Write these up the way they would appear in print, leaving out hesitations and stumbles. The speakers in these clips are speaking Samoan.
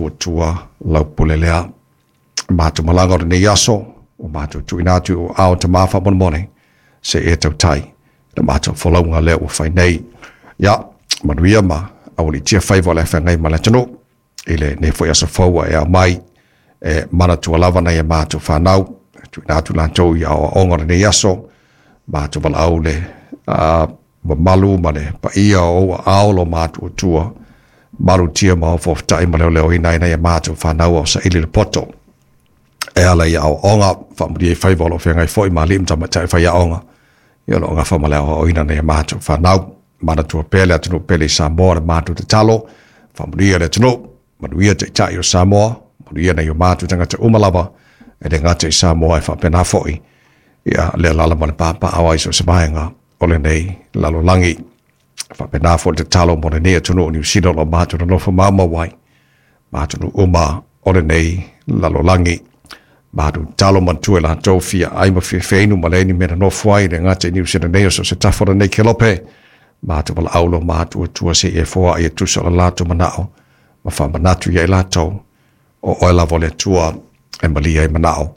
matuatua lau pule lea. Matou malaga o lenei aso, ua matou tuuina atu i ou aao Tama faamolemole, se i e tautai le matou folauga lea ua fai nei. Ia, manuia ma aualiitia faiva o le feagai ma le atunuu i lenei foi aso fou ua e ao mai e manatua lava nai a matou fanau, tuuina atu latou i aoaoga o lenei aso, matou valaau le mamalu ma le paia o ou aao lo matuatua, malutia ma ofofotai ma leoleoina ai nai a matou fanau o saili le poto e ala i aoaoga, faamanuia i faiva o lo o feagai foi ma alii ma tamaitai faiaoga, ia o lo o gafa ma le aoaoina nai a matou fanau. Manatua pea le atunuu pele i Samoa le matou tatalo, faamanuia le atunuu, manuia taitai o Samoa, manuia nai o matou tagata uma lava, e le gata i Samoa e faapena foi, ia le alaala ma le papaaao ai so o se vaega o lenei lalolagi. Faapena foi le tatalo mo lenei atunuu o Niu Sila o lo o matou nonofo maumau ai, ma atunuu uma o lenei lalolagi. Matou tatalo manatua i latou fia ai ma fia feinu ma leai ni mea nonofo ai, le gata i Niu Sila nei o so o se tafa o lenei kelope. Matou valaau lo matuatua se i e foai e tusa o le latou manao ma faamanatu ia i latou o oe lava o le Atua e malia ai manao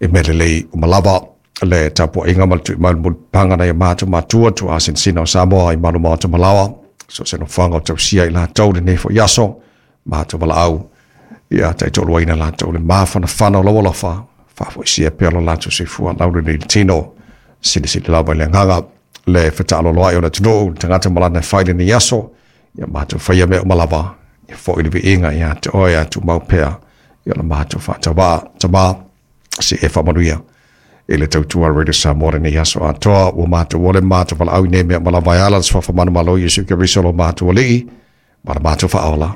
i mea lelei uma lava. Le tapuaiga ma le tui mai o le mulipapaga nai o matou matua tuaasinasina o Samoa i malu maota malaoa, so o se nofoaga o tausia i latou lenei foi aso, matou valaau ia taitoaluaina latou le mafanafana o lau alofa, faafoisia pea lo latou soifua laulelei le tino, silisili lava i le agaga le fetaaloloai o le atunuu, le tagata ma lana e fai lenei aso, ia matou faia mea uma lava, ia foi le viiga ia te oe a tumau pea, ia la matou faatauvaa, Tama, se e faamanuia i le tautua Radio Samoa lenei aso atoa, ua matou ole matou valaau i nei mea uma lava e ala le suafa manumalo o Iesu Keriso lo matou Alii ma le matou Faaola.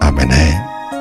Amene.